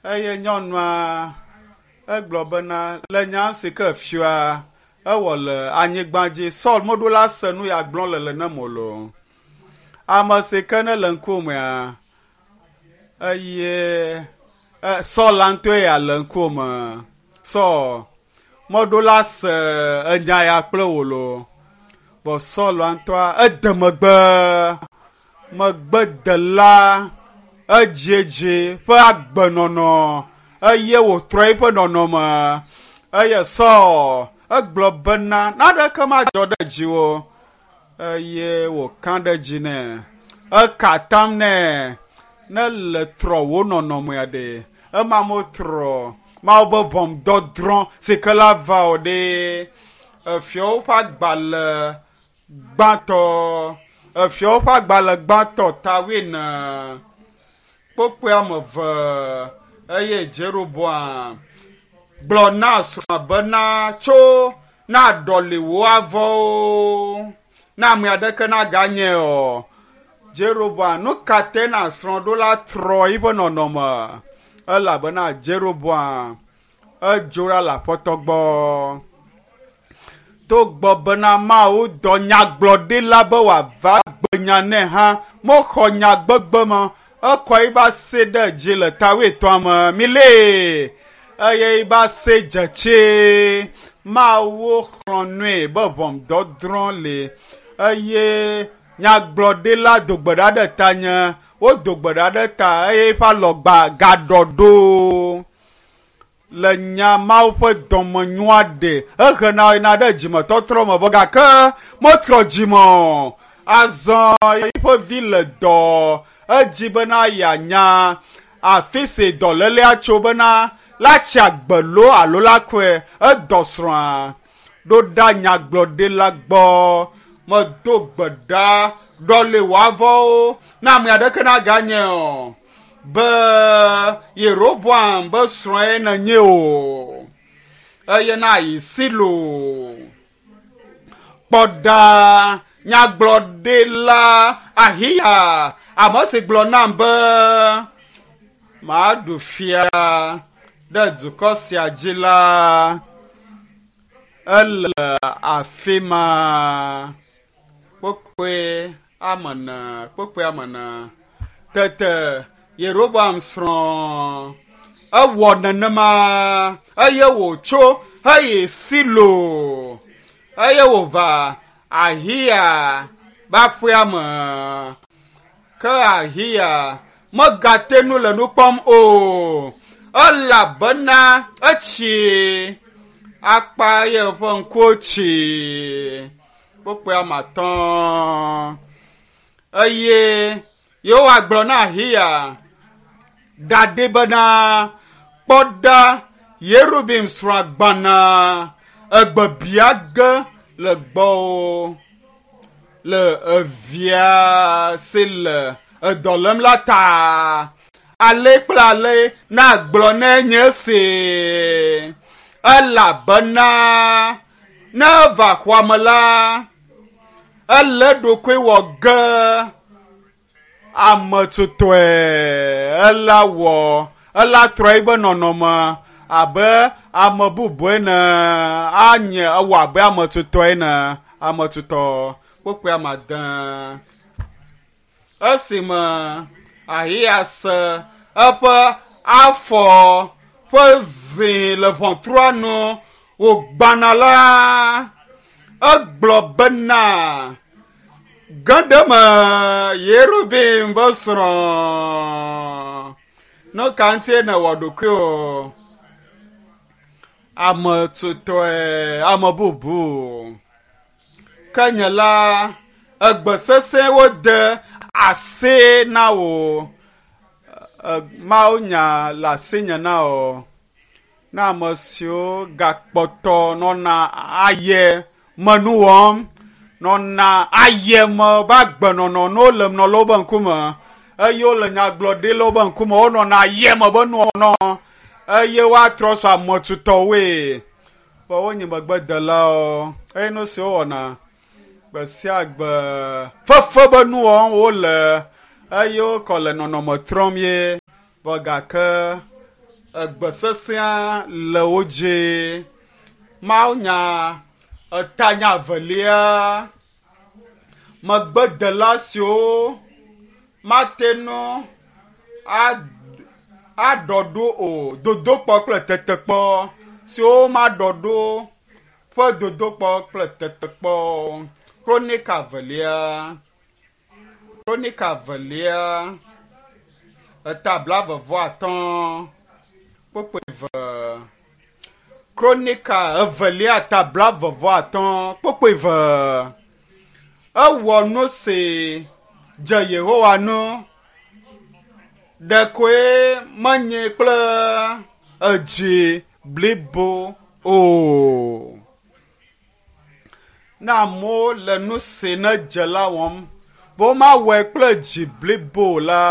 Eye nyɔnua egblɔ bena le nya si ke fia ewɔ le anyigba dzi Saul meɖo la se nu ya gblɔm le le nem o lo. Ame si ke ne le ŋkumea eye Saul la ŋutɔe ya le ŋkume. Saul meɖo la se enya ya kple wò lo. Vɔ Saul la ŋutɔa ede megbe megbedela edziedzi ƒe agbenɔnɔ eye wòtrɔ eƒe nɔnɔme eye Saul egblɔ bena naneke madzɔ ɖe dziwò eye wòka ɖe dzi nɛ. Eka atam nɛ ne le trɔ wò nɔnɔmea ɖe ema metrɔ Mawu be ʋɔnudɔdrɔ̃ si ke la va o ɖe. Efiawo ƒe agbalẽ gbãtɔ efiawo ƒe agbalẽ gbãtɔ ta wuiene kpokpoe ame eve eye Jeroboam gblɔ na srɔ̃a bena tso na ɖɔli wò avɔwo na ame aɖeke naganye o. Jeroboam nu ka te na srɔ̃ ɖo la trɔ eƒe nɔnɔme elabena Jeroboam edzo ɖa le aƒetɔ gbɔ. Togbɔ bena Mawu dɔ nyagblɔɖila be wòava gbe nya nɛ hã mexɔ nya gbegbe ma ekɔ eƒe asi ɖe dzi le ta wuietɔ̃a me milée eye eƒe asi dze tsi. Mawu xlɔ̃ nui be ʋɔnudɔdrɔ̃ li eye nyagblɔɖila do gbe ɖa ɖe tanye wodo gbe ɖa ɖe ta eye eƒe alɔgba gaɖɔ ɖo le nya Mawu ƒe dɔmenyoa ɖe ehena yina ɖe dzimetɔtrɔ me vɔ gake metrɔ dzime o. Azɔ eƒe vi le dɔ edzi bena yeanya afi si dɔlélea tso bena la tsi agbe loo alo la kɔe edɔ srɔ̃a ɖo ɖa nyagblɔɖila gbɔ medo gbe ɖa ɖɔli wò avɔwo na ame aɖeke naganye o be Yeroboam be srɔ̃e nenye o eye na yi Silo kpɔ ɖa nyagblɔɖila Ahiya ame si gblɔ nam be maɖu fia ɖe dukɔ sia dzi la ele afi ma kpokpoe ame ene kpokpoe ame ene tete Yeroboam srɔ̃ ewɔ nenema eye wòtso heyi Silo eye wòva Ahiya ƒe aƒea me. Ke Ahiya megate nu le nu kpɔm o elabena etsi akpa eye eƒe ŋkuwo tsi kpokpoe ame atɔ̃ eye Yehowa gblɔ na Ahiya ɖaɖɛ bena kpɔ ɖa Yerobim srɔ̃ gbana egbe bia ge le gbɔwò le evia si le edɔ lém la ta. Ale kple ale nagblɔ ne nye si elabena ne eva xɔa me la ele ɖokui wɔ ge ame tutɔe ela wɔ ela trɔ eƒe nɔnɔme abe ame bubu ene anye ewɔ abe ame tutɔ ene ame tutɔ kpokpoe ame ade esime Ahiya se eƒe afɔ ƒe zi le ʋɔtrua nu wògbana la egblɔ bena ge ɖe me Yerobim be srɔ̃ nu ka ŋutie nèwɔ ɖokuiwò ame tutɔe ame bubu ke nye la egbe sesẽ wode asi na wò Mawu nya le asinye na wò na ame siwo gakpɔtɔ nɔna aye me nu wɔm nɔna aye me be agbenɔnɔ ne wole nɔ le wobe ŋkume eye wole nyagblɔɖi le wobe ŋkume wonɔna aye me be nuwɔnɔ eye woatrɔ sɔ ame tutɔwoe be wonye megbedelawo eye nu si wowɔna gbe sia gbe fefe be nu wɔm wole eye wokɔ le nɔnɔme trɔm ye. Vɔ gake egbe sesẽa le wo dzi. Mawunya etanya evelia megbedela siwo mate ŋu aɖɔ ɖo o dodokpɔ kple tetekpɔ siwo maɖɔ ɖo ƒe dodokpɔ kple tetekpɔ. Kronika evelia Kronika evelia eta blaeve-vɔ-atɔ̃ kpukpui eve. Kronika evelia ta blaeve-vɔ-atɔ̃ kpukpui eve. Ewɔ nu si dze Yehowa ŋu ɖekoe menye kple edzi blibo o. Ne amewo le nu si ne dze la wɔm, be womawɔe kple dzi blibo la,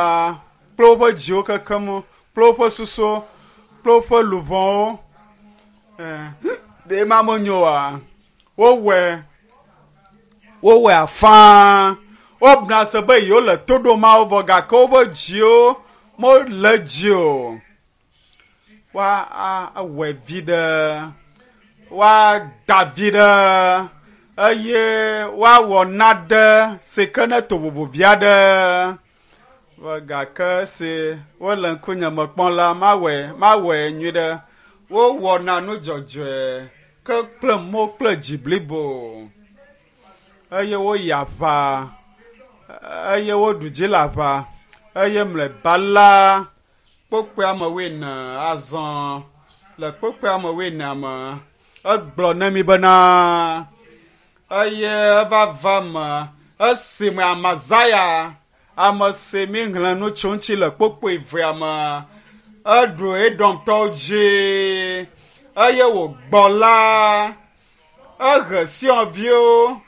kple woƒe dziwo kekem, kple woƒe susuwo, kple woƒe luʋɔwo, ɖe ma menyo oa? Wowɔe, wowɔe afã. Wobuna se be yewole to ɖom Mawu vɔ gake woƒe dziwo mele edzi o. Woawɔe viɖe, woada viɖe eye woawɔ nane si ke ne to vovo vi aɖe. Vɔ gake esi wole ŋkunye me kpɔm la, mawɔe, mawɔe nyuiɖe. Wowɔna nu dzɔdzɔe ke kple mo kple dzi blibo eye woyi aʋa eye woɖu dzi le aʋa eye mlɔeba la kpokpoea me wuiene azɔ le kpokpoea me wuienea me egblɔ na mi bena eye eva va me esime Amazaya ame si mi xlẽ nu tso ŋuti le kpokpoe evea me eɖu Edomtɔwo dzi eye wògbɔ la ehe Sionviwo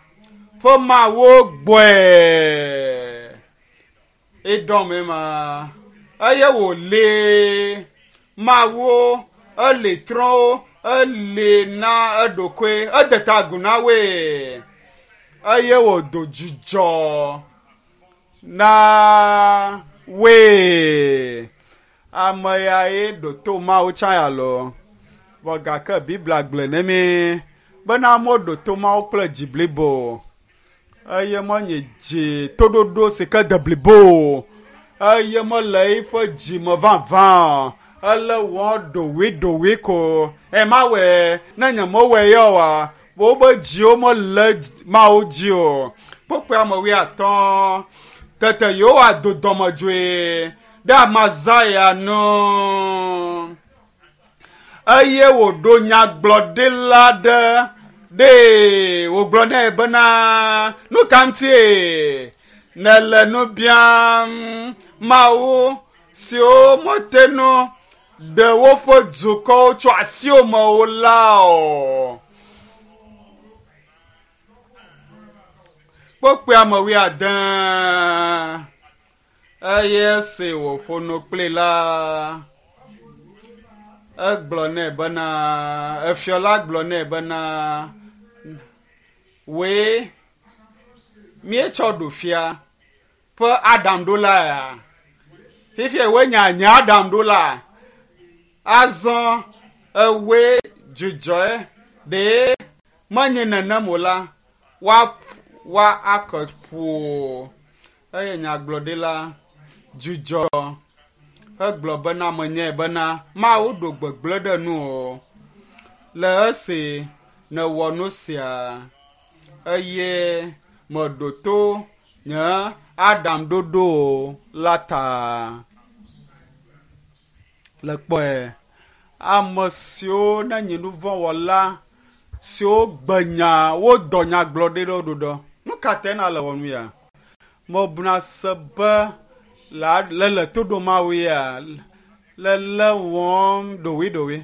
ƒe mawo gbɔe. Edom ma eye wòli mawo eli trɔ̃wo eli na eɖokui ede ta agu na woe eye wòdo dzidzɔ na woe. Ame yae ɖo to Mawu tsã ya loo. Vɔ gake Biblia gblɔe ne mí bena amewo ɖo to Mawu kple dzi blibo eye menye dzi toɖoɖo si ke de blibo o eye mele eƒe dzi me vavã o. Ele wɔ ɖoɖoeɖoɖoe ko. E mawɔe ne nye mewɔe ya oa, woƒe dziwo mele Mawu dzi o. Kpukpui ame wuiatɔ̃. Tete Yehowa do dɔmedzoe ɖe Amazaya ŋu eye wòɖo nyagblɔɖila ɖe ɖee wògblɔ nɛ bena nu ka ŋutie nèle nu biam Mawu siwo mete ŋu ɖe woƒe dukɔwo tso asiwò me o la o. Kpukpui ame wuiade eye esi wòƒo nu kplii la, egblɔ nɛ bena, efiɔ la gblɔ nɛ bena, wòe míetsɔ ɖu fia ƒe aɖaŋuɖola ya. Fifia wòe nye nye aɖaŋuɖola. Azɔ ewòe dzudzɔe ɖe menye nenem o la, woa woa ake ƒo. Eye nyagblɔɖila dzudzɔ hegblɔ bena menyae bena Mawu ɖo gbegblẽ ɖe nuwò le esi nèwɔ nu sia eye meɖo to nye aɖaŋuɖoɖo o la ta. Le kpɔe, ame siwo nenye nu vɔ̃ wɔla siwo gbe nya wodɔ nyagblɔɖilawo ɖo ɖɔ. Nu ka tae na le wɔ nu ya? Mebuna se be la le le to ɖom Mawu ya le le wɔm ɖoɖoeɖoɖoe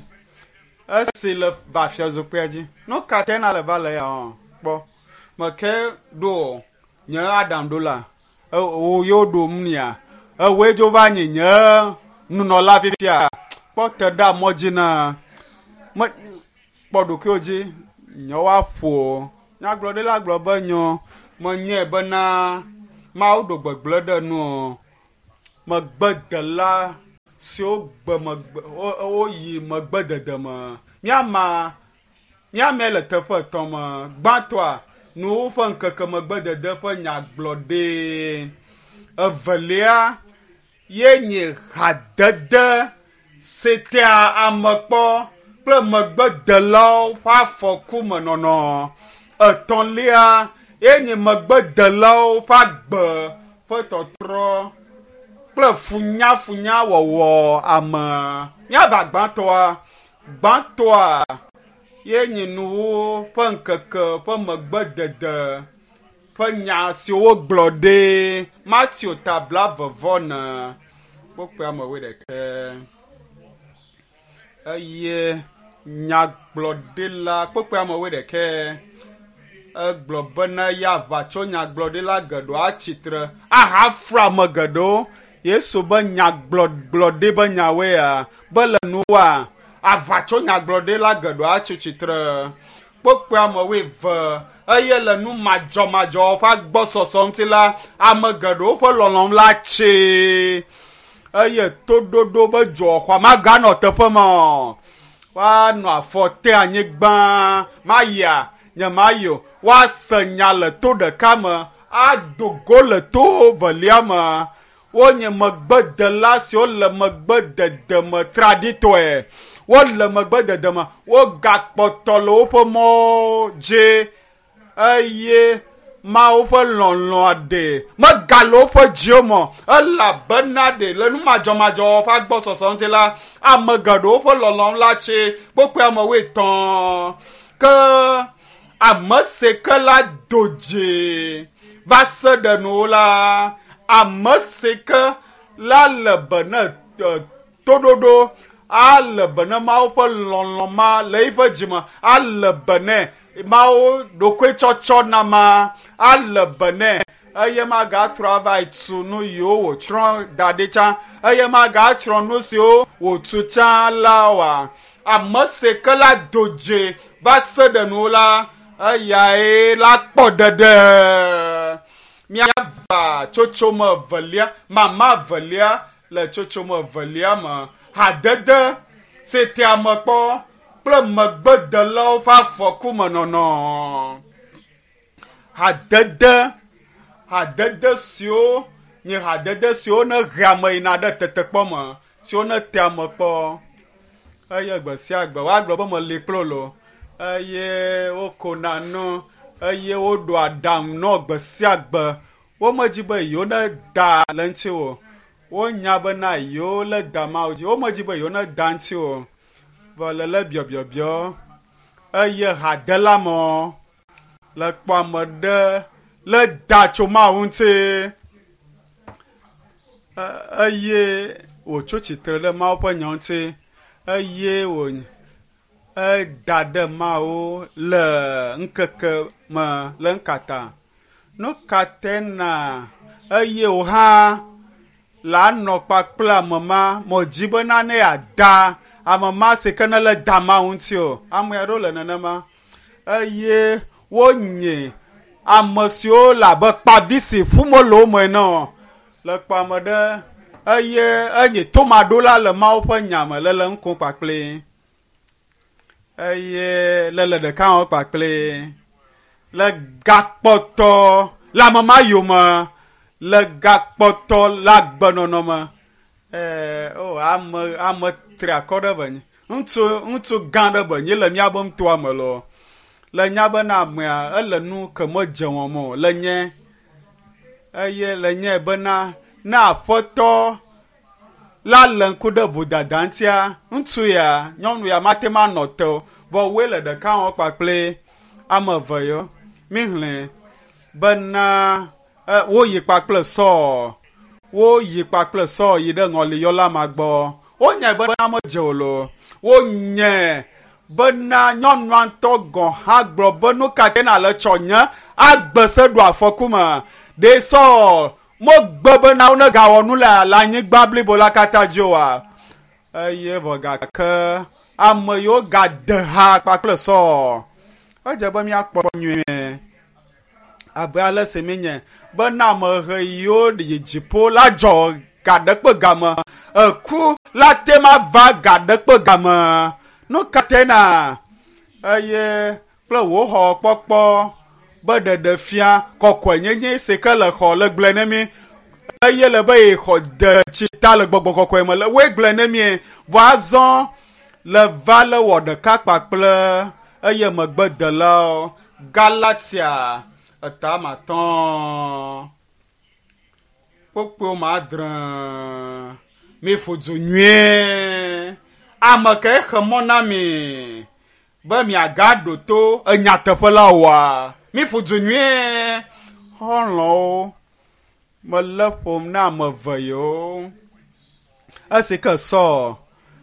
esi le va fiazikpuia dzi. Nu ka tae na le va le ya wɔm? Kpɔ meke ɖo nye aɖaŋuɖola wò yewo ɖom nia ewòe dzo va nye nye nunɔla fifia. Kpɔ te ɖe mɔ dzi na me kpɔ ɖokuiwò dzi nye woaƒo. Nyagblɔɖila gblɔ be nyo menyae bena Mawu ɖo gbegblẽ ɖe nuwò. Megbedela siwo gbe megbe woyi megbedede me. Míama míame le teƒe etɔ̃ me. Gbãtɔa, nuwo ƒe ŋkeke megbedede ƒe nyagblɔɖi. Evelia ye nye hadede si tea ame kpɔ kple megbedelawo ƒe afɔku me nɔnɔ. Etɔ̃lia ye nye megbedelawo ƒe agbe ƒe tɔtrɔ kple funyafunya wɔwɔ ame. Míava gbãtɔa. Gbãtɔa ye nye nuwo ƒe ŋkeke ƒe megbedede ƒe nya siwo wogblɔ ɖi. Mateo ta blaeve-vɔ-ene kpukpui ame wuiɖekɛ. Eye nyagblɔɖila kpukpui ame wuiɖekɛ egblɔ bena ya aʋatso nyagblɔɖila geɖewo atsitre ahaflu ame geɖewo. Yesu be nyagblɔɖi be nyawoe ya be le nuwoa aʋatso nyagblɔɖila geɖewo atsi tsitre kpukpui ame wuieve eye le nu madzɔmadzɔ ƒe agbɔsɔsɔ ŋuti la ame geɖewo ƒe lɔlɔ̃m la tsi eye toɖoɖo be dzɔxɔa maganɔ teƒe ma o. Woanɔ afɔ te anyigba mayia nye mayi o. Woase nya le to ɖeka me ado go le to velia me. Wonye megbedela siwo le megbedede me traɖitɔe. Wole megbedede me. Wogakpɔtɔ le woƒe mɔwo dzi eye Mawu ƒe lɔlɔ̃a ɖe megale woƒe dziwo me o elabena ɖe le nu madzɔmadzɔ ƒe agbɔsɔsɔ ŋuti la ame geɖewo ƒe lɔlɔ̃ la tsi kpokpɔe ame wuietɔ̃ ke ame si ke la do dzi va se ɖe nu la ame si ke la le be ne toɖoɖo ale be ne Mawu ƒe lɔlɔ̃ ma le eƒe dzime ale be ne Mawu ɖokuitsɔtsɔ na ma ale be nɛ eye magatrɔ ava tu nu yiwo wòtsrɔ̃ da ɖi tsã eye magatsrɔ̃ nu siwo wòtu tsã la oa. Ame si ke la do dzi va se ɖe nu la eyae la kpɔ ɖeɖe. Míava tsotsome evelia, mama evelia le tsotsome evelia me. Hadede si tea ame kpɔ kple megbedelawo ƒe afɔku me nɔnɔ. Hadede, hadede siwo nye hadede siwo ne hea ame yina ɖe tetekpɔ me, siwo ne tea ame kpɔ. Eye gbe sia gbe woagblɔ be meli kple wo eye wokona nu eye woɖoa aɖaŋu nɔ gbe sia gbe. Womedzi be yewo ne da le ŋuti o. Wonya bena yewo le da Mawu dzi. Womedzi be yewo ne da ŋuti o. Vɔ le le biɔbiɔbiɔ eye hadela mɔ le kpɔ ame ɖe le da tso Mawu ŋuti eye wòtso tsitre ɖe Mawu ƒe nya ŋuti eye wò eda ɖe Mawu le ŋkeke me le ŋkata. Nu ka te na eye wò hã la nɔ kpakple ame ma mɔdzi bena ne yeada ame ma si ke ne le da Mawu ŋuti o. Ame aɖewo le nenema eye wonye ame siwo le abe kpavi si ƒum wole wo me ene o. Le kpɔ ame ɖe eye enye tomaɖola le Mawu ƒe nya me le le ŋku kpakple eye le le ɖeka wɔm kpakple le gakpɔtɔ le ame ma yome le gakpɔtɔ le agbenɔnɔ me. Ee, o ame ame tri akɔ ɖe be nyi ŋutsu ŋutsu gã ɖe be nyi le míabe ŋutoa me lɔ le nya bena amea ele nu ke medze wɔm o le nye eye le nye bena ne aƒetɔ la le ŋku ɖe vodada ŋutia ŋutsu ya nyɔnu ya mate ŋu anɔ te o vɔ woe le ɖeka wɔm kpakple ame eve yɔ mihlẽ bena woyi kpakple Sɔɔ woyi kpakple Sɔɔ yi ɖe ŋɔliyɔla ma gbɔ. Wonyae bena medze o loo. Wonyae bena nyɔnua ŋutɔ gɔ̃ hã gblɔ be nu ka te nale tsɔ nye agbe se ɖo afɔku me. Ɖe Sɔɔ megbe bena wonegawɔ nu le anyigba blibo la katã dzi oa? Eye vɔ gake ame yiwo gade ha kpakple Sɔɔ. Edze be míakpɔ nyuie abe ale si míenye bena ame ʋe yiwo yi dziƒo la dzɔ ga ɖe kpe game. Eku la te ma va ga ɖe kpe game. Nu ka te na? Eye kple wò xɔ kpɔkpɔ be ɖeɖe fia kɔkɔenyenye si ke le xɔ le gblɔe ne mi. Eye le be ye xɔ de tsi ta le gbɔgbɔ kɔkɔe me le woe gblɔe ne mi. Vɔ azɔ le va le wɔ ɖeka kpakple eye megbedelawo. Galatia 5 kpokpo ma adre. Mi ƒo du nyuie. Ame ke xe mɔ na mi be miagaɖo to enyateƒe la oa? Mi ƒo du nyuie. Xɔlɔ̃wo, mele ƒom na ame eve yewo. Esi ke Saul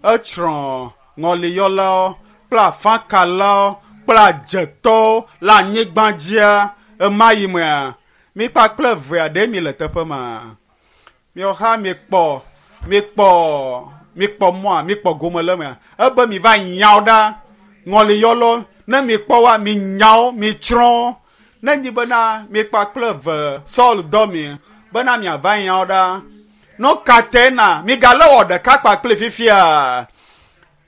etsrɔ̃ ŋɔliyɔlawo kple afakalawo kple adzetɔwo le anyigba dzia ema yi mea, mi kpakple evea ɖe mi le teƒe ma. Miawo hã mikpɔ, mikpɔ, mikpɔ mɔa, mikpɔ gome le mea. Ebe mi va nyawo ɖa, ŋɔliyɔlawo, ne mikpɔ woa, mi nyawo, mi tsrɔ̃. Ne nyi bena mi kpakple eve Saul dɔ mi bena miava nyawo ɖa. Nu ka te na migale wɔ ɖeka kpakple fifia?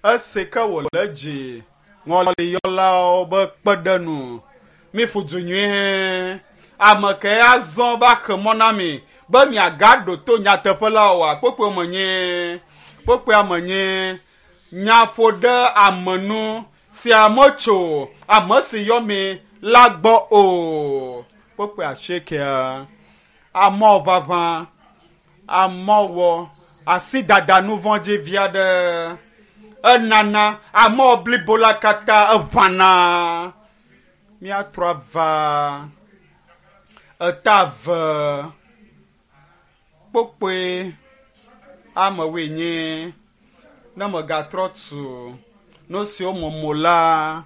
Esi ke wòle dzi ŋɔliyɔlawo be kpe ɖe nu. Mi ƒo du nyuie. Ame ke azɔ va xe mɔ na mi be miagaɖo to nyateƒe la oa? Kpokpoe me nye. Kpokpoea me nye. Nya ƒo ɖe ame nu sia metso ame si yɔ mi la gbɔ o. Kpokpoe asiekea. Amewo ʋaʋã, amewo asi dada nu vɔ̃ dzi via ɖe. Enana amewo blibo la katã eʋãna. Míatrɔ ava eta eve kpokpoe amewoe nye. Ne megatrɔ tu nu siwo momo la,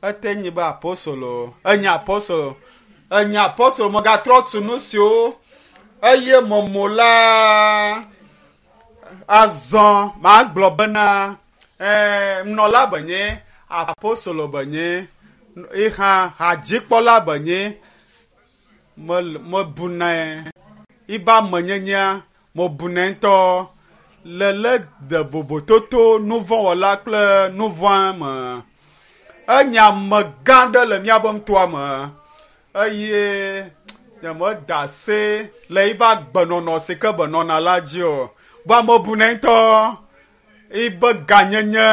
ete nyi be apostolo, enye apostolo, enye apostolo, megatrɔ tu nu siwo eye momo la. Azɔ magblɔ bena, nunɔla benye, apostolo benye, ihã hadzikpɔla benye, mebunɛ, iba amenyenyea, mebunɛ ŋutɔ. Le le de vovototo nuvɔ̃wɔla kple nuvɔ̃a me. Enye amegã ɖe le míaƒe nutoa me eye nyemeda ase le yiƒe agbenɔnɔ si ke benɔna la dzi o. Vɔ mebunɛ ŋutɔ. Yiƒe ganyenye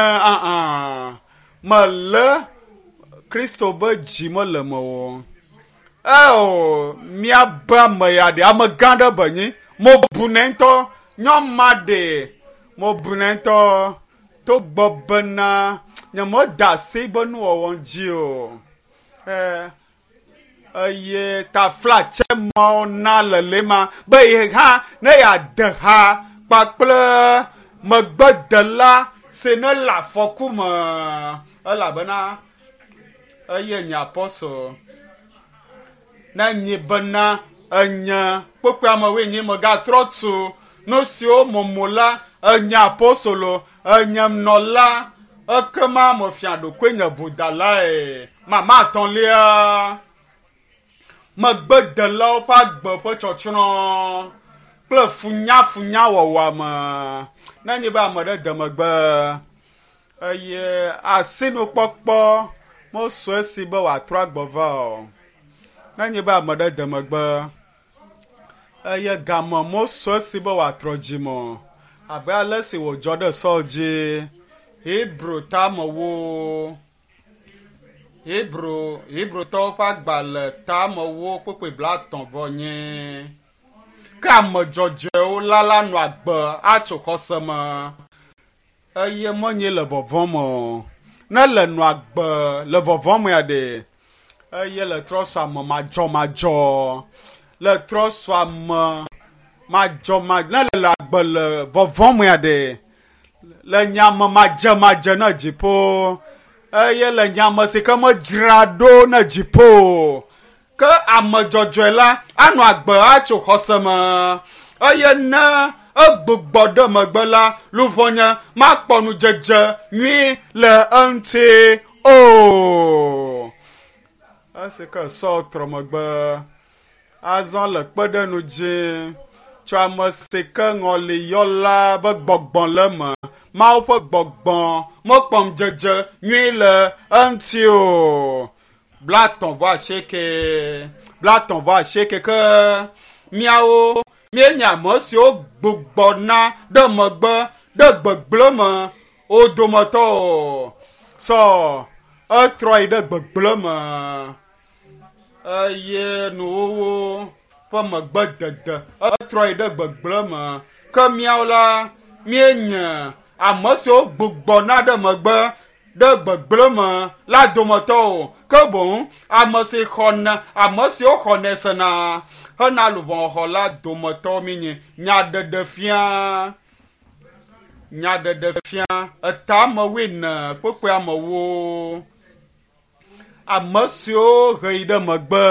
mele Kristo be dzi mele me o. Eo, míabe ame ya ɖe amegã ɖe benye. Mebunɛ ŋutɔ. Nyɔma ɖe mebunɛ ŋutɔ. Togbɔ bena nyemeda ase be nuwɔwɔ dzi o. Eye taflatse mawo na le le ma be ye hã ne yeade ha kpakple megbedela si ne le afɔku me elabena eye nye apostol. Ne nyi bena enye kpokpoe amewoe nyi megatrɔ tu nu siwo momo la, enye apostolo, enye nɔla, ekema mefia ɖokoe nye vodalae. Mama atɔ̃lia, megbedelawo ƒe agbe ƒe tsɔtsrɔ̃ kple funyafunyawɔwɔa me. Ne nyi be ame ɖe de megbe eye asinukpɔkpɔ mesu esi be wòatrɔ agbɔ va o. Ne nyi be ame ɖe de megbe eye game mesu esi be wòatrɔ dzime o. Abe ale si wòdzɔ ɖe Saul dzi. Hebrew tamewo. Hebrew Hebrewtɔwo ƒe agbalẽ tamewo kpokpoe 30 vɔ nye. Ke ame dzɔdzɔewo la la nɔ agbe atso xɔse me eye menye le vɔvɔ̃ me o. Ne le nɔ agbe le vɔvɔ̃ mea ɖe, eye le trɔ su ame madzɔmadzɔ, le trɔ su ame madzɔmadzɔ, ne le agbe le vɔvɔ̃ mea ɖe, le nye ame madzemadze ne dziƒo, eye le nye ame si ke medzra ɖo ne dziƒo. Ke ame dzɔdzɔe la anɔ agbe atso xɔse me eye ne egbugbɔ ɖe megbe la, luʋɔnye makpɔ nudzedze nyui le eŋuti o. Esi ke Saul trɔ megbe azɔ le kpeɖenu dzi Tso ame si ke ŋɔliyɔla be gbɔgbɔ le eme. Mawu ƒe gbɔgbɔ mekpɔ ŋudzedze nyui le eŋuti o. 38, 38 ke míawo míenye ame siwo gbugbɔna ɖe megbe ɖe gbegblẽ me wo dometɔ o. Sɔ etrɔ yi ɖe gbegblẽ me eye nuwuwu ƒe megbedede etrɔ yi ɖe gbegblẽ me. Ke míawo la míenye ame siwo gbugbɔna ɖe megbe ɖe gbegblẽ me la dometɔ o. Ke boŋ ame si xɔna ame siwo xɔnɛ sena hena luʋɔxɔ la dometɔ míenye. Nyaɖeɖefia nyaɖeɖefia etame wuiene kpukpui amewo. Ame siwo he yi ɖe megbe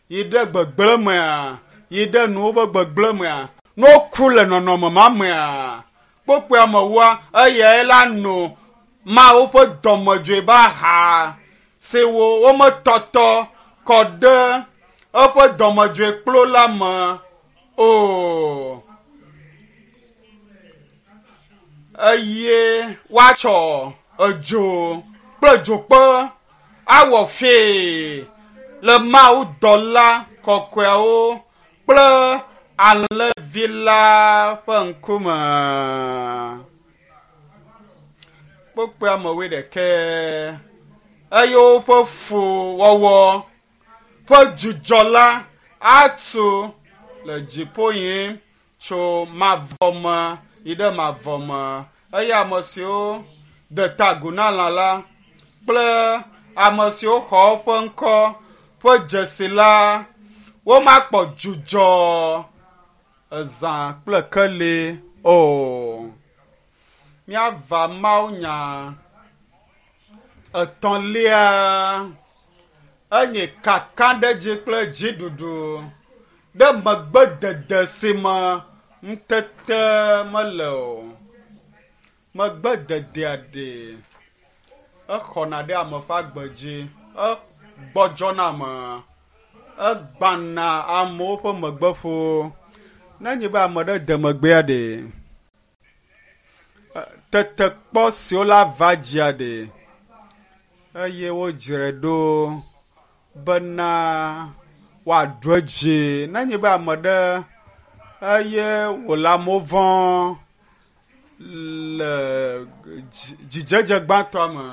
yi ɖe gbegblẽ mea yi ɖe nuwo ƒe gbegblẽ mea ne woku le nɔnɔme ma mea kpukpui amewoa eyae la no Mawu ƒe dɔmedzoe be aha si wo wometɔtɔ kɔ ɖe eƒe dɔmedzoe kplo la me o. Eye woatsɔ edzo kple dzokpe awɔ fee le Mawu dɔla kɔkɔeawo kple alẽvi la ƒe ŋkume. Kpukpui amewoe ɖekɛ eye woƒe fuwɔwɔ ƒe dzudzɔ la atu le dziƒo yim tso mavɔ me yi ɖe mavɔ me eye ame siwo de ta agu na lã la kple ame siwo xɔ eƒe ŋkɔ ƒe dzesi la womakpɔ dzudzɔ ezã kple keli o. Míava mawunya etɔ̃lia enye kakaɖedzi kple dziɖuɖu ɖe megbedede si me ŋutete mele o. Megbededea ɖe exɔna ɖe ame ƒe agbe dzi, egbɔdzɔna ame, egbana amewo ƒe megbeƒo. Ne nye be ame ɖe de megbea ɖe, tetekpɔ siwo la va dzia ɖe eye wodzrae ɖo bena woaɖu edzi. Ne nye be ame ɖe eye wòle amewo vɔ̃ le dzidzedze gbãtɔa me,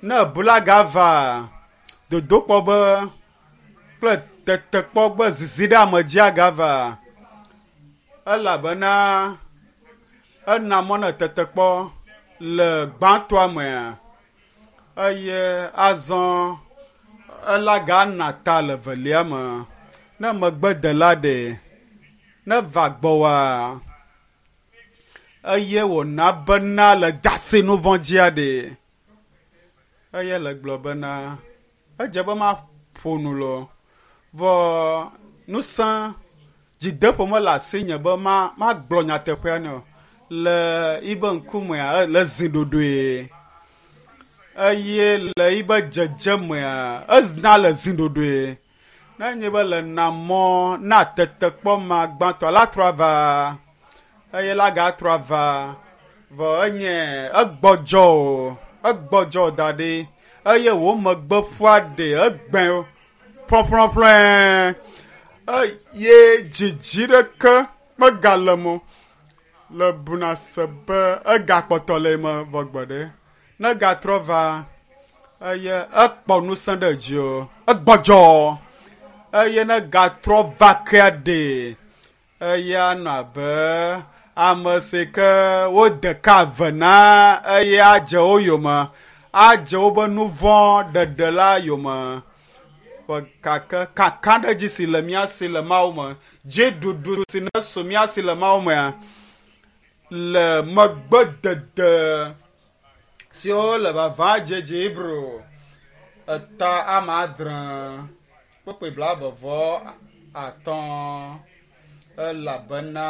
ne ebula gava dodokpɔ be kple tetekpɔ be zizi ɖe ame dzia gava elabena ena mɔ ne tetekpɔ le gbãtɔa mea eye azɔ ela gana ta le velia me. Ne megbedela ɖe ne va gbɔwòa eye wòna bena le dasi nu vɔ̃ dzia ɖe eye le gblɔ bena edze be maƒo nu lɔ vɔ ŋusẽ dzideƒo mele asinye be magblɔ nyateƒea nɛ o. Le yibe ŋkumea le zi ɖoɖoe eye le yibe dzedzemea ezina le zi ɖoɖoe. Ne nye be le na mɔ na tetekpɔ ma gbãtɔ la trɔ ava eye la gatrɔ ava vɔ enye egbɔdzɔ o egbɔdzɔ da ɖi eye wo megbe ƒua ɖe egbẽ ƒlɔƒlɔƒlɔe eye dzidzi ɖeke megale mo le buna se be egakpɔtɔ le eme vɔ gbe ɖe ne gatrɔ va eye ekpɔ ŋusẽ ɖe dzi o egbɔdzɔ eye ne gatrɔ va kea ɖe eye anɔ abe ame si ke wode ka ve na eye adze wo yome adze woƒe nu vɔ̃ ɖeɖe la yome ƒe gake kakaɖedzi si le mía si le Mawu me dziɖuɖu si ne su mía si le Mawu mea le megbedede siwo le vava dzedze Hebrew eta ame adre kpukpui 35 elabena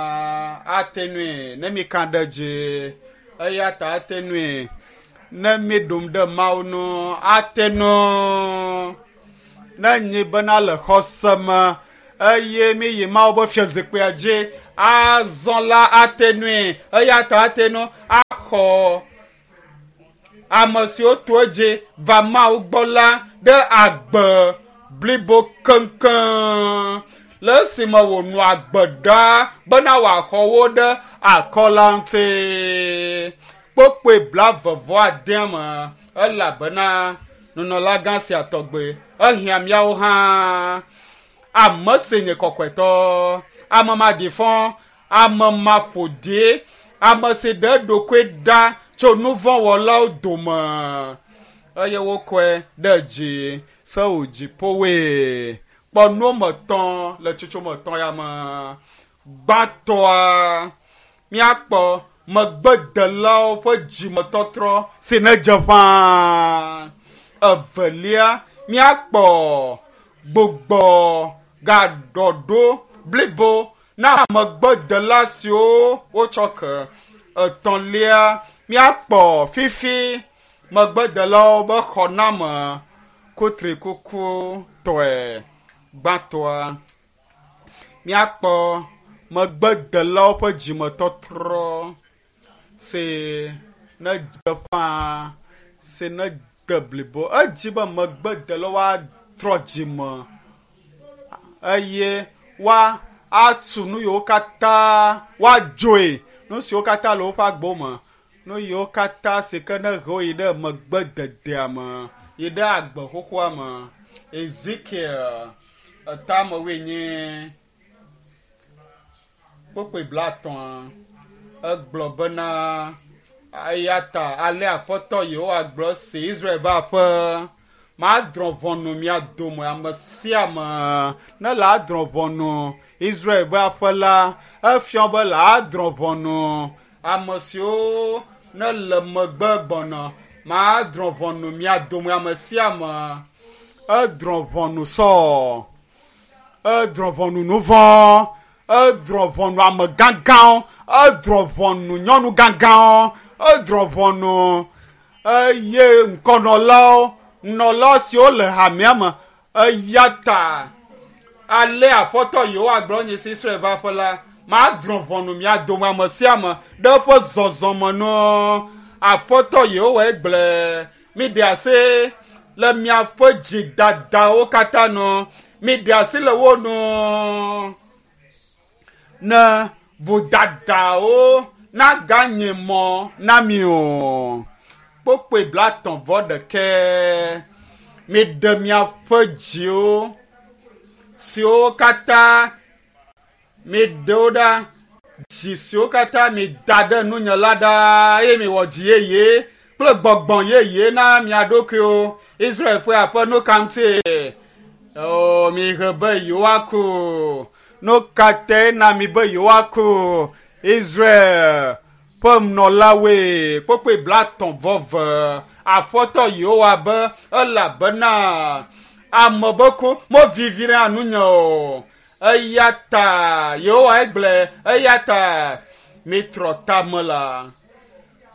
ate nui ne mi ka ɖe dzi eya ta ate nui ne mi ɖom ɖe Mawu nu ate nu ne nyi bena le xɔse me eye mi yi Mawu be fiazikpuia dzi. Azɔ la ate nui, eya ta ate nu axɔ ame siwo to edzi va Mawu gbɔ la ɖe agbe blibo keŋkeŋ le esime wònɔ agbe ɖaa bena wòaxɔ wo ɖe akɔ la ŋuti. Kpokpoe 29 me, elabena nunɔlagã sia tɔgbe ehiã míawo hã. Ame si nye kɔkɔetɔ, ame maɖifɔ, ame maƒoɖi, ame si ɖe eɖokui ɖa tso nuvɔ̃wɔlawo dome eye wokɔe ɖe dzi se wò dziƒowoe. Kpɔ nu me tɔ̃ le tsotso me tɔ̃ ya me. Gbãtɔa, míakpɔ megbedelawo ƒe dzimetɔtrɔ si ne dze ƒãa. Evelia, míakpɔ gbugbɔ gaɖɔɖo blibo na megbedela siwo wotsɔ ke. Etɔ̃lia, míakpɔ fifi megbedelawo be xɔname kutrikukutɔe. Gbãtɔa, míakpɔ megbedelawo ƒe dzimetɔtrɔ si ne dze ƒãa, si ne de blibo. Edzi be megbedelawo atrɔ dzime eye woa atu nu yiwo katã woadzoe, nu siwo katã le woƒe agbo me, nu yiwo katã si ke ne he wo yi ɖe megbededea me, yi ɖe agbe xoxoa me. Ezekiel etame wuienyi kpokpoe 50 egblɔ bena eya ta ale Aƒetɔ Yehowa gblɔ si Israel ƒe aƒe, madrɔ̃ ʋɔnu mia dome ame sia ame ne le adrɔ̃ ʋɔnu Israel ƒe aƒe la, efia be le adrɔ̃ ʋɔnu ame siwo ne le megbe gbɔna. Madrɔ̃ ʋɔnu mia dome ame sia ame. Edrɔ̃ ʋɔnu Saul, edrɔ̃ ʋɔnu nuvɔ̃, edrɔ̃ ʋɔnu ame gãgãwo, edrɔ̃ ʋɔnu nyɔnu gãgãwo, edrɔ̃ ʋɔnu eye ŋkɔnɔlawo, nɔla siwo le hamea me. Eya ta ale Aƒetɔ Yehowa gblɔ nye si Israel ƒe aƒe la, madrɔ̃ ʋɔnu mia dome ame sia ame ɖe eƒe zɔzɔme nu. Aƒetɔ Yehowa gblɔe. Miɖe asi le miaƒe dzidadawo katã nu. Miɖe asi le wo nu ne vodadawo naganye mɔ na mi o. Kpokpoe 36. Miɖe miaƒe dziwo siwo katã miɖe wo ɖa, dzi siwo katã mida ɖe nunye la ɖa, eye miwɔ dzi yeye kple gbɔgbɔ yeye na mia ɖokuiwo. Israel ƒe aƒe, nu ka ŋuti o mihe be yewoaku? Nu ka tae na mi be yewoaku? Israel ƒe nɔlawoe. Kpokpoe 30. Aƒetɔ Yehowa be, elabena ame be ku mevivi na nunye o. Eya ta Yehowa gblɔe, eya ta mitrɔ tame la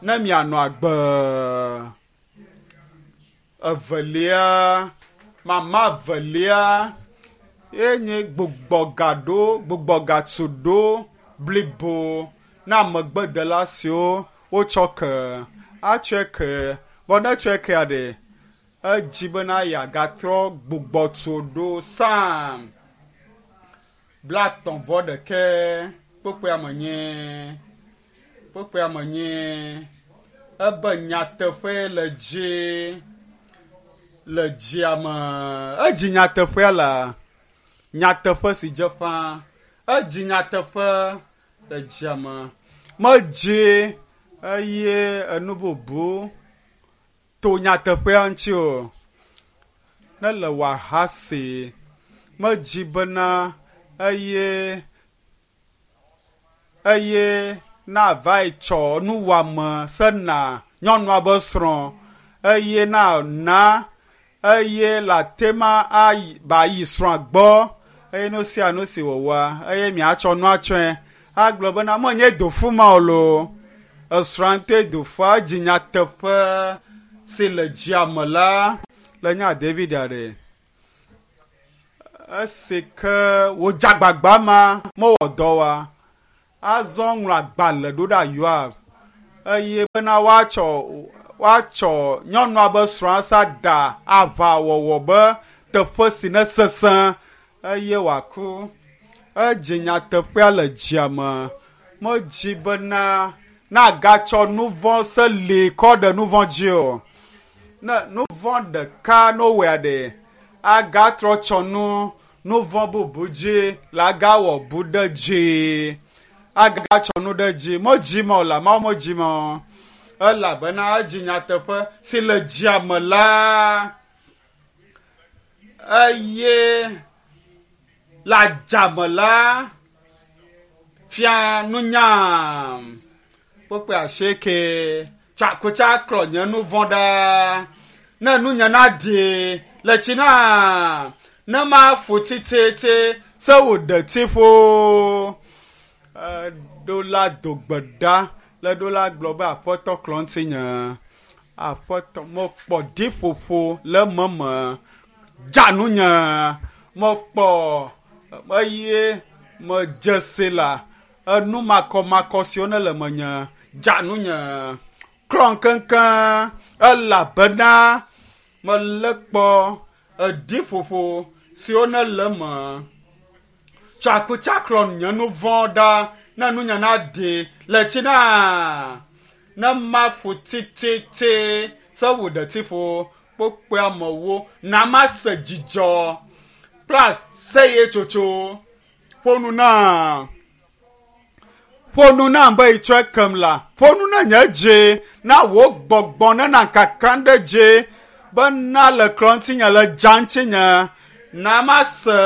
ne mianɔ agbe. Evelia, mama evelia ye nye gbugbɔgaɖo, gbugbɔgatuɖo blibo na megbedela siwo wotsɔ ke. Atsɔe ke, vɔ ne etsɔe kea ɖe, edzi bena yeagatrɔ gbugbɔtuɖo. Psalm 31 kpokpoea me nye, kpokpoea me nye, ebe nyateƒe le dzi, le dzia me. Edzi nyateƒea la, nyateƒe si dze ƒã. Edzi nyateƒe le dzia me. Medzi eye enu bubu to nyateƒea ŋuti o. Ne le wòahasi, medzi bena eye eye na va yi tsɔ nuwɔame sena nyɔnua be srɔ̃ eye na na eye le ate ma ayi ba yi srɔ̃a gbɔ eye nu sia nu si wòwɔa eye miatsɔ nua tsɔe agblɔ bena menye dofu ma o loo. Esrɔ̃a ŋutɔe dofua dzi nyateƒe si le dzia me la le nya David aɖe. Esi ke wòdze agbagba ma mewɔ dɔ wa, azɔ ŋlɔ agbalẽ ɖo ɖa Yoab eye bena woatsɔ woatsɔ nyɔnua be srɔ̃a sa da aʋawɔwɔ be teƒe si ne sesẽ eye wòaku. Edzi nyateƒea le dzia me. Medzi bena nagatsɔ nu vɔ̃ se li kɔ ɖe nu vɔ̃ dzi o. Ne nu vɔ̃ ɖeka no wɔe ɖe, agatrɔ tsɔ nu nu vɔ̃ bubu dzi la agawɔ bu ɖe dzi. Agatsɔ nu ɖe dzi. Medzi me o la, Mawu medzi me o. Elabena edzi nyateƒe si le dzia me la eye le adzame la fia nunya. Kpukpui asieke tsɔ akutsa klɔ nye nu vɔ̃ ɖa ne nunya naɖi le tsi na ne mafu tititi se wò ɖeti ƒo. Eɖo la do gbe ɖa le ɖo la gblɔ be aƒetɔ klɔ ŋutinye. Aƒetɔ mekpɔ ɖiƒoƒo le meme dza nunye mekpɔ eye medze si la enu makɔmakɔ siwo ne le menye dza nunye klɔ keŋkeŋ elabena melé kpɔ eɖiƒoƒo siwo ne le eme. Tsɔ akutsa klɔ nye nu vɔ̃ ɖa ne nunye naɖi le tsi na ne mafu tititi se wò ɖetiƒo kpokpoe amewo na mase dzidzɔ kple aseyetsotso. Ƒo nu nam. Ƒo nu nam be itsɔe kem la. Ƒo nu na nye dzi na wò gbɔgbɔ ne na kakam ɖe dzi be na le klɔ ŋutinye le dza ŋutinye na mase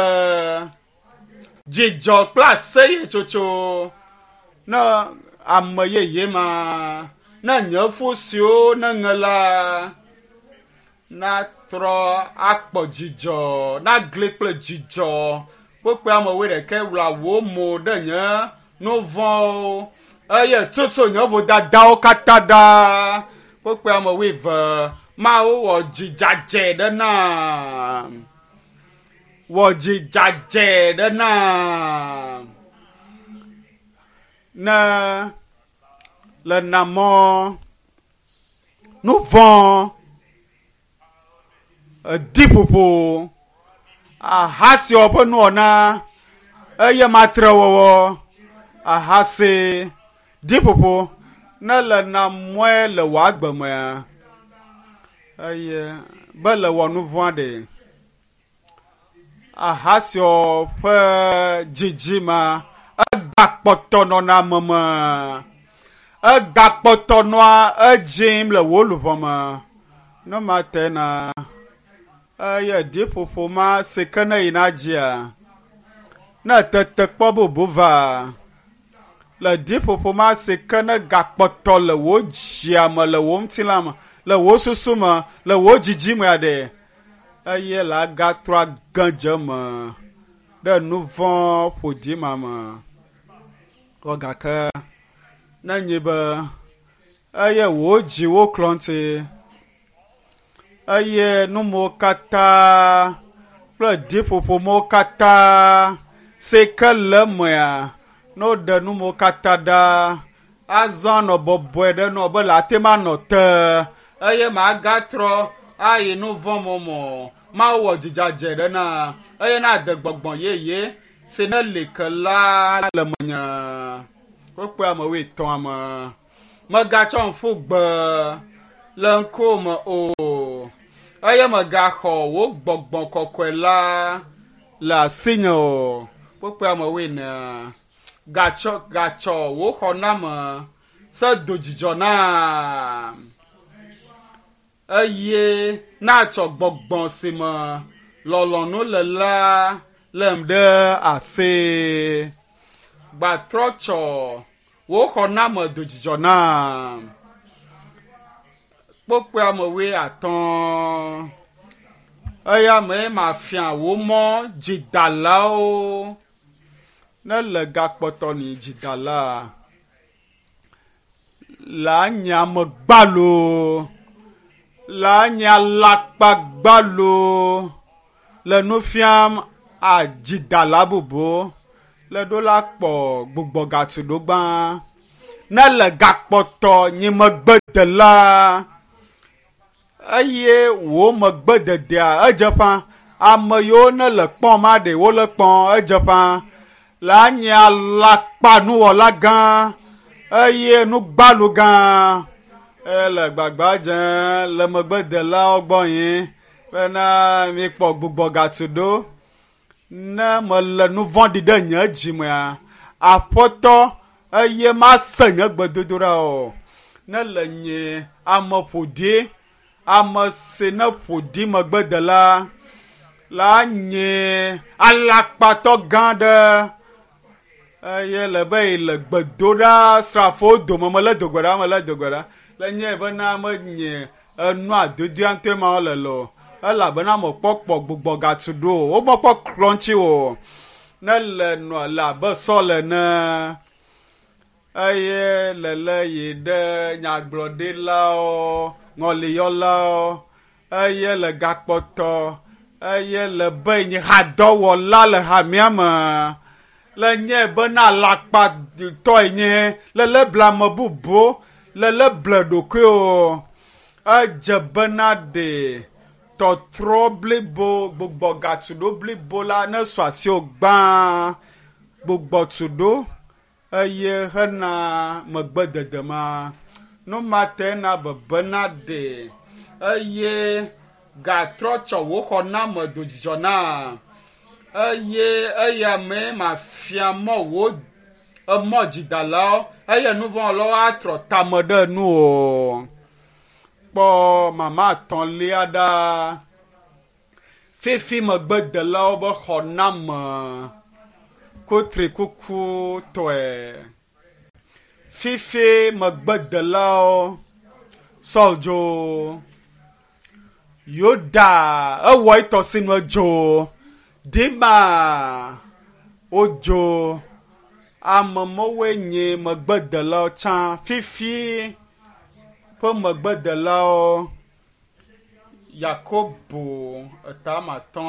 dzidzɔ kple aseyetsotso ne ame yeye ma ne nye ƒu siwo ne ŋe la natrɔ akpɔ dzidzɔ nagli kple dzidzɔ kpokpe ame wuiɖekɛ wla wò mo ɖe nye nu vɔ̃wo eye tutu nye vodadawo katã ɖa kpokpe ame wuieve Mawu wɔ dzidzadzɛ ɖe nam wɔ dzidzadzɛ ɖe nam ne le namɔ nu vɔ̃ ediƒoƒo ahasiwɔ ƒe nuwɔna eye matrewɔwɔ ahasi ɖiƒoƒo ne le namɔe le wò agbe mea eye be le wɔ nu vɔ̃a ɖe ahasiwɔ ƒe dzidzime egbakpɔtɔ nɔna ame me egbakpɔtɔ nɔa edzim le wò luʋɔ me ne ma te na eye ɖiƒoƒo ma si ke ne yina dzia ne tetekpɔ bubu va le ɖiƒoƒo ma si ke ne gakpɔtɔ le wò dzia me le wò ŋutilã me le wò susu me le wò dzidzi mea ɖe eye la agatrɔ age dze eme ɖe nu vɔ̃ ƒoɖi ma me. Kɔ gake ne nyi be eye wò dziwo klɔ ŋuti eye numewo katã kple ɖiƒoƒomewo katã si ke le emea ne woɖe numewo katã ɖa azɔ anɔ bɔbɔe ɖe nɔ be le ate ma nɔ te eye magatrɔ ayi nu vɔ̃ mɔmɔ Mawu wɔ dzidzadzɛ ɖe na eye na de gbɔgbɔ yeye si ne li ke la le menye. Wokpe ame wuietɔ̃ me. Megatsɔ ƒu gbe le ŋkuwò me o eye megaxɔ wò gbɔgbɔ kɔkɔe la le asinye o. Wokpe ame wuiene. Gatsɔ gatsɔ wò xɔname se do dzidzɔ nam eye natsɔ gbɔgbɔ si me lɔlɔ̃nu le la lém ɖe asi. Gbatrɔ tsɔ wò xɔname do dzidzɔ nam. Kpokpoe ame wuiatɔ̃. Eya mee mafia wò mɔ dzidalawo ne le gakpɔtɔ ni dzidala la nye ame gbalo la nye alakpa gbalo le nu fiam adzidala bubu le ɖo la kpɔ gbugbɔgatu ɖo gbã ne le gakpɔtɔ nyi megbedela eye wò megbededea edze ƒã ame yiwo ne le kpɔm ma ɖe wole kpɔm edze ƒã la nye alakpanuwɔla gã eye nugbalu gã ele gbagba dze le megbedelawo gbɔ yi bena mikpɔ gbugbɔgatu ɖo ne mele nu vɔ̃ɖi ɖe nye dzimea aƒetɔ eye mase nye gbedodoɖa o ne le nye ame ƒoɖi ame si ne ƒoɖi megbedela la nye alakpatɔ gã ɖe eye le be yi le gbedoɖa srafowo dome mele dogbe ɖa mele dogbe ɖa le nye bena menye enua dodoa ŋutɔe ma le lo elabena mekpɔkpɔ gbugbɔgatu ɖo o womekpɔ klɔ ŋuti o ne le nɔ le abe sɔl ene eye lele yi ɖe nyagblɔɖilawo ŋɔliyɔlawo eye le gakpɔtɔ eye le be nye hadɔwɔla le hamea me le nye bena alakpatɔe nye lele ble ame bubu lele ble ɖokui o edze bena ɖe tɔtrɔ blibo gbugbɔgatu ɖo blibo la ne sɔ asiwò gbã gbugbɔtu ɖo eye hena megbedede ma nu ma te na bebena ɖe eye gatrɔ tsɔ wò xɔname do dzidzɔ na eye eya mee mafia mɔ wò emɔ dzidalawo eye nuvɔ̃wɔlawo atrɔ tame ɖe nu o kpɔ mama atɔ̃lia ɖa fifi megbedelawo be xɔname kutrikukutɔe fifi megbedelawo Saul dzo Yuda ewɔ etɔ sinu edzo Dima wodzo ame mewoe nye megbedelawo tsã fifi ƒe megbedelawo Yakobo etamatɔ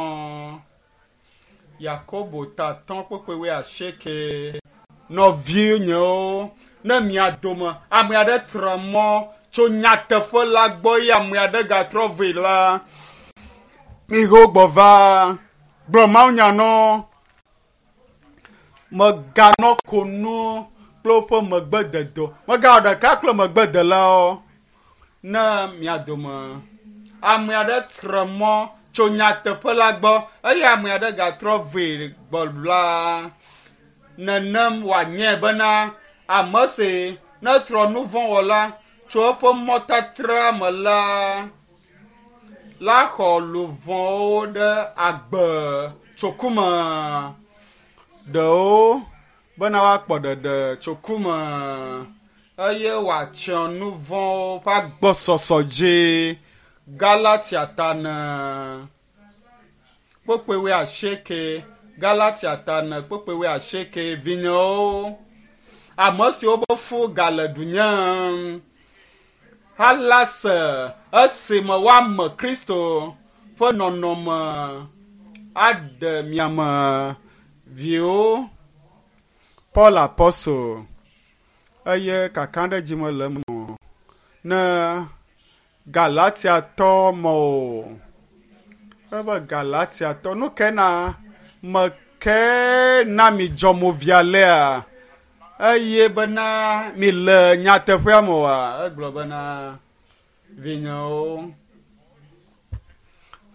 Yakobo tatɔ kpekpe wuiasieke nɔvinyewo ne mia dome ame aɖe trɔ mɔ tso nyateƒe la gbɔ eye ame aɖe gatrɔ vɛ la miho gbɔ va gblɔ mawunya nɔ meganɔ ko nu kple woƒe megbedede megawɔ ɖeka kple megbedelawo ne mia dome ame aɖe trɔ mɔ tso nyateƒe la gbɔ eye ame aɖe gatrɔ vɛ gbɔ la nenem wòanye bena ame si netrɔ nu vɔ̃ wɔla tso eƒe mɔtatra me la la xɔ luʋɔwo ɖe agbe tso ku me ɖewo bena woakpɔ ɖeɖe tso ku me eye wòatsyɔ nu vɔ̃wo ƒe agbɔsɔsɔ dzi Galatia tane kpokpoe wuiasieke Galatia tane kpokpoe wuiasieke vinyewo ame siwo be fu gale ɖunyem hala se esime woame Kristo ƒe nɔnɔme aɖe miame viwo Paul Apostle eye kakaɖedzi mele eme o ne Galatiatɔ me o ebe Galatiatɔ nu ke na me ke na mi dzɔ mo via lea eye bena mi le nyateƒea me oa egblɔ bena vinyewo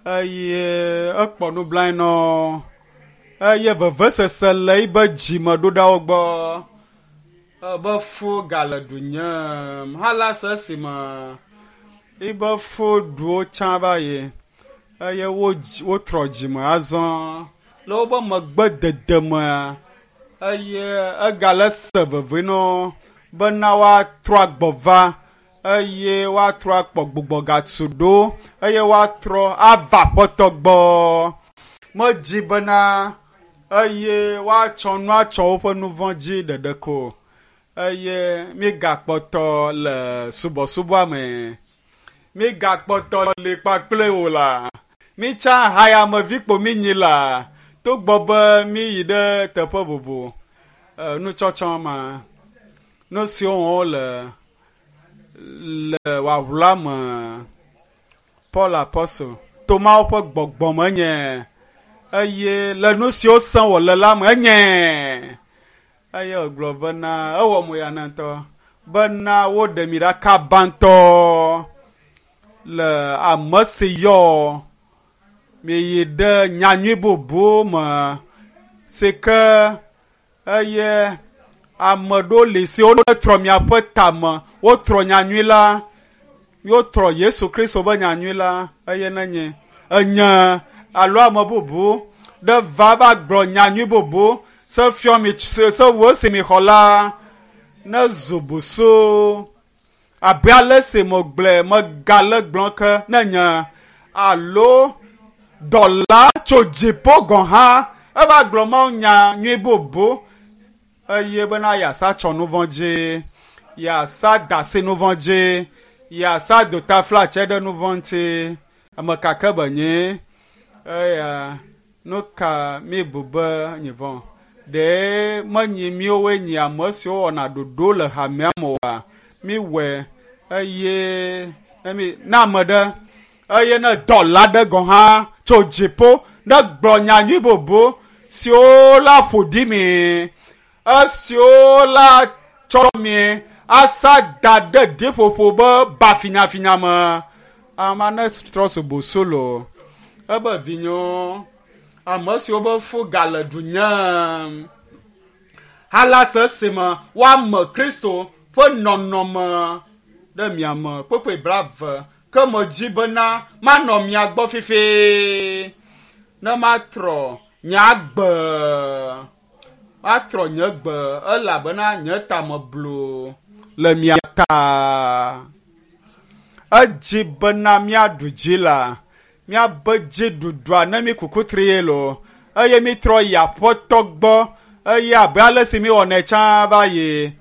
eye ekpɔ nublanui nɔ eye vevesese le yibe dzime ɖo ɖa wo gbɔ ebe fu gale ɖunyem hala se esime yibe fu ɖuwo tsã va yi eye wotrɔ dzime azɔ le wobe megbedede mea eye egale se veve nɔ bena woatrɔ agbɔ va eye woatrɔ akpɔ gbugbɔgatu ɖo eye woatrɔ ava aƒetɔ gbɔ medzi bena eye woatsɔ nu atsɔ woƒe nu vɔ̃ dzi ɖeɖe ko eye migakpɔtɔ le subɔsubɔa me migakpɔtɔ li kpakple wo la mitsa hayamevi kpo minyi la Togbɔ be míyi ɖe teƒe bubu, nutsɔtsɔ ma, nu siwo wɔm wole le wòawla me, Paul Apostle, to Mawu ƒe gbɔgbɔ me enye, eye le nu siwo sẽ wòle la me enye. Eye wògblɔ bena, ewɔ mo ya na ŋutɔ, bena woɖe mi ɖa kaba ŋutɔ le ame si yɔ mi yi ɖe nyanyui bubu me si ke eye ame ɖewo li siwo trɔ miaƒe tame, wotrɔ nyanyui la, wotrɔ Yesu Kristo be nyanyui la, eye nenye enye alo ame bubu ɖe va va gblɔ nyanyui bubu se fiɔ mi se wo si mi xɔ la ne zu busu abe ale si megblɔe megale gblɔ ke ne nye alo dɔla tso dziƒo gɔ̃ hã eva gblɔ Mawu nya nyui bubu eye bena yeasa tsɔ nu vɔ̃ dzi, yeasa da asi nu vɔ̃ dzi, yeasa dotaflatse ɖe nu vɔ̃ ŋuti. Ame ka ke be nye eya nu ka mi bu be nye vɔ̃? Ɖe menyi míwoe nyi ame siwo wɔna ɖoɖo le hamea me oa? Míwɔe eye ne ame ɖe eye ne dɔla ɖe gɔ̃ hã tso dziƒo ne gblɔ nyanyui bubu siwo la ƒo ɖi mi, esiwo la tsɔ mi asa da ɖe ɖiƒoƒo be ba finyafinya me, ama ne trɔ subusu lo. Ebe vinyewo, ame siwo be fu gale du nyem hala se me woame Kristo ƒe nɔnɔme ɖe mia me kpekpe 20 ke medzi bena manɔ mia gbɔ fifi ne matrɔ nye agbe, matrɔ nye gbe elabena nye tame blu le mia ta. Edzi bena míaɖu dzi la, míabe dziɖuɖua ne mi kukutri ye lo, eye mitrɔ yi aƒetɔ gbɔ eye abe ale si miwɔnɛ tsã va yi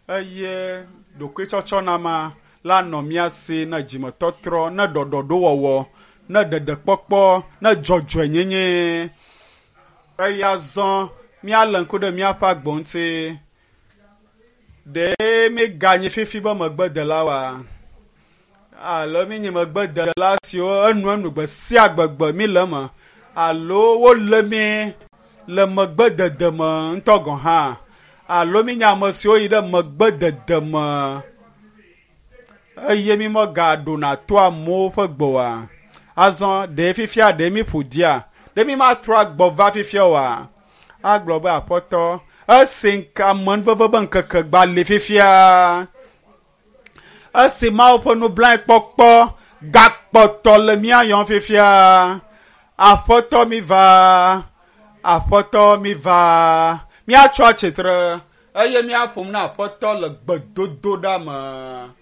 eye ɖokuitsɔtsɔnama la nɔ mía si ne dzimetɔtrɔ, ne ɖɔɖɔɖowɔwɔ, ne ɖeɖekpɔkpɔ, ne dzɔdzɔenyenye. Eye azɔ míalé ŋku ɖe míaƒe agbo ŋuti. Ɖe míganyi fifi be megbedelawoa? Alo míenye megbedela siwo enuenu gbe sia gbegbe míle eme, alo wolé mí le megbedede me ŋutɔ gɔ̃ hã, alo míenye ame siwo yi ɖe megbedede me eye mí megaɖona to amewo ƒe gbe oa? Azɔ ɖe fifia ɖe mí ƒo ɖia? Ɖe mí matrɔ agbɔ va fifia oa? Agblɔ be aƒetɔ, esi amenuveve be ŋkeke gba li fifia, esi Mawu ƒe nublanuikpɔkpɔ gakpɔtɔ le mía yɔm fifia, aƒetɔ mi va, aƒetɔ mi va, míatsɔ atsitre eye míaƒom na aƒetɔ le gbedodoɖa me.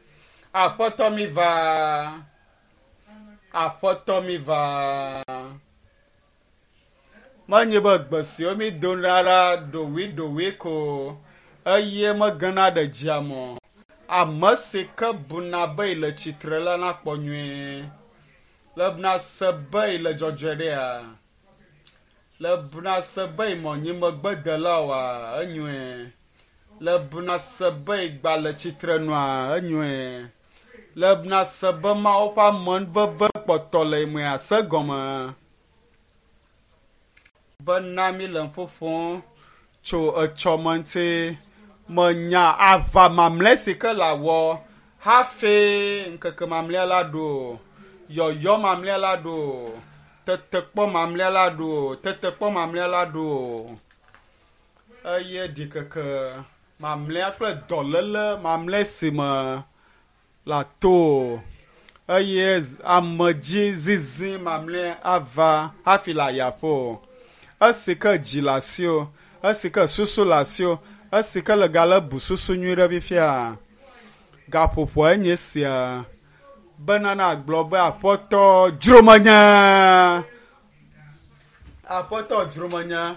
Aƒetɔ mi va, aƒetɔ mi va. Menye be gbe siwo mi dona ɖa ɖoɖoe ko eye megena ɖe dzia me o. Ame si ke buna be yele tsitre la nakpɔ nyuie. Le buna se be yele dzɔdzɔe ɖea? Le buna se be yemɔ nyi megbedela oa? Enyoe. Le buna se be yegba le tsitre nua? Enyoe. Le buna se be Mawu ƒe amenuveve kpɔtɔ le mea se gɔme. Bena mi le ƒoƒom tso etsɔme ŋuti, menya aʋa mamlɛ si ke le awɔ hafi ŋkeke mamlɛa la ɖo, yɔyɔ mamlɛa la ɖo, tetekpɔ mamlɛa la ɖo, tetekpɔ mamlɛa la ɖo, eye ɖikeke mamlɛa kple dɔléle mamlɛ si me la to, eye amedzizizi mamlɛ ava hafi le ayaƒo. Esi ke dzi le asiwò, esi ke susu le asiwò, esi ke le gale bu susu nyui ɖe fifia, gaƒoƒoa enye sia bena nagblɔ be aƒetɔ dzro menye, aƒetɔ dzro menye,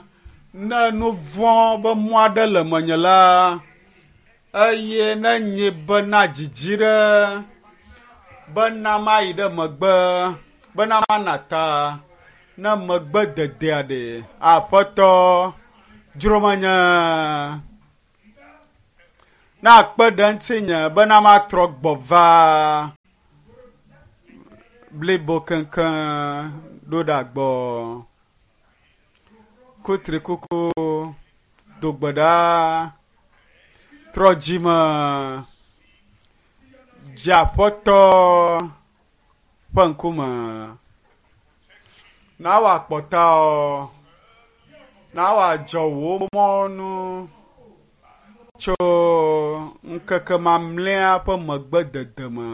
ne nu vɔ̃ be mɔ aɖe le menye la, eye ne nye bena dzidzi ɖe bena mayi ɖe megbe, bena mana ta, Ne megbe dedea ɖe, Aƒetɔ, dzro menye. Na akpe ɖe ŋutinye bena matrɔ gbɔ va blibo keŋkeŋ ɖo ɖa gbɔ. Kutrikuku, do gbe ɖa, trɔ dzime, dze Aƒetɔ ƒe ŋkume. Na wòakpɔ tawò, na wòadzɔ wò mɔnu tso ŋkeke mamlɛa ƒe megbedede me.